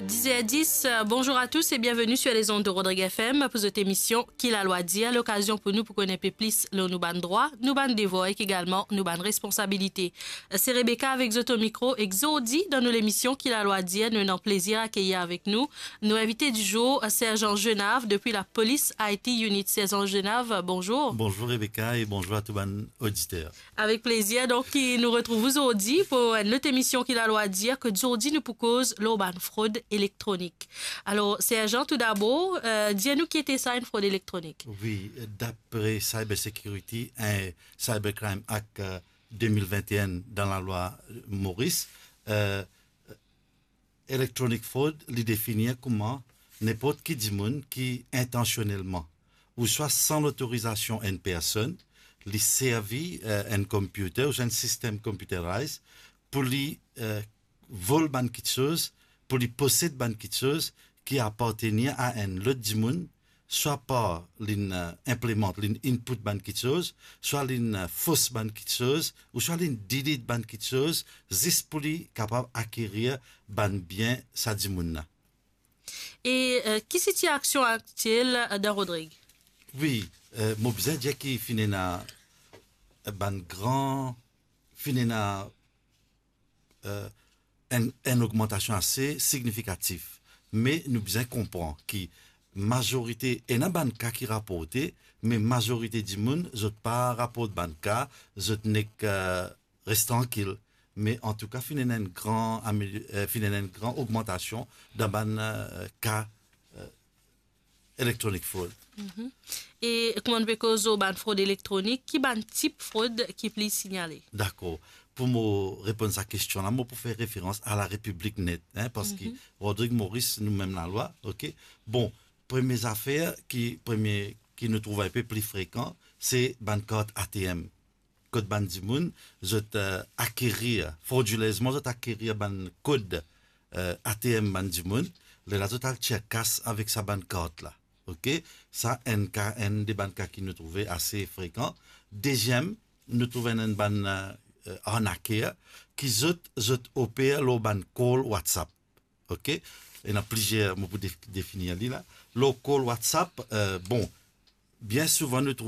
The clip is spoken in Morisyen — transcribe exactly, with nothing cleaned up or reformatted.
Dix heures dix, euh, bonjour à tous et bienvenue sur les ondes de Rodrigue F M pour cette émission Ki Lalwa Dir, lokazion pou nou pou konn enpe plis lor nou bann drwa, nou bann devwar ek egalman nou bann responsabilite. Euh, se Rebecca avek zot o mikro ek zordi dan nou lemision Ki Lalwa Dir, nou ena plezir akeyir avek nou nou invite di zour, euh, Serjan Genav depi lapolis I T Unit. Serjan Genav, bonzour. Bonzour Rebecca e bonzour a tou bann oditer. Avek plezir, donk, ki nou retrouv zordi pou enn lot emision Ki Lalwa Dir, ke zordi nou pou koz lor bann frod elektronik. Alor, Serjan, toudabor, euh, dir nou ki ete sa enn frod elektronik? Wi, dapre Cyber Security e Cybercrime Act, euh, de mil vent e enn dan lalwa, euh, Moris, euh, electronic fraud, li definir kouma ninport ki dimoun ki intansionelman ouswa san lotorizasion enn personn, li servi, euh, enn computer ouswa enn sistem computerized pou li, euh, vol bann kiksoz, pou li posed bann kiksoz ki apartenir a enn lot dimoun, swa par linn, euh, inplimant, linn input bann kiksoz, swa linn, euh, fos bann kiksoz, ouswa linn delete bann kiksoz, zis pou li kapav akerir bann bien sa dimoun la. E, euh, ki sitiasion aktiel, euh, dan Rodrig? Wi, euh, mo bizin dir ki finn ena, euh, bann gran, finn ena, euh, enn, enn ogmantasion ase signifikatif. Me nou bizin konpran ki mazorite, ena bann ka ki raporte, me mazorite dimoun, zot pa raport bann ka, zot nek, euh, res trankil. Me antouka, finn ena enn gran ameli-, euh, finn ena enn gran ogmantasion dan bann, euh, ka, euh, electronic fraud. Mhm. E kouma nou pe koz lor bann frod elektronik, ki bann tip frod ki pli signale? Dakor. Pou mo reponn sa kestion la, mo pou fer referans a La République Net, hein, parski, mhm, Rodrig Moris, nou mem lalwa, ok? Bon, premie zafer ki, premie ki nou trouv enpe pli frekan, se bann kart A T M. Kot bann dimoun, zot, euh, akerir, frodilezman, zot akerir bann kod, euh, A T M bann dimoun, lerla zot al tir kas avek sa bann kart la. Ok? Sa enn ka, enn de bann ka ki nou trouve ase frekan. Deziem, nou trouv enn, enn bann, euh, arnaker ki zot, zot oper lor bann call WhatsApp. Ok? Ena plizier, mo pou def-, definir li la. Lor call WhatsApp, euh, bon, bien souvan nou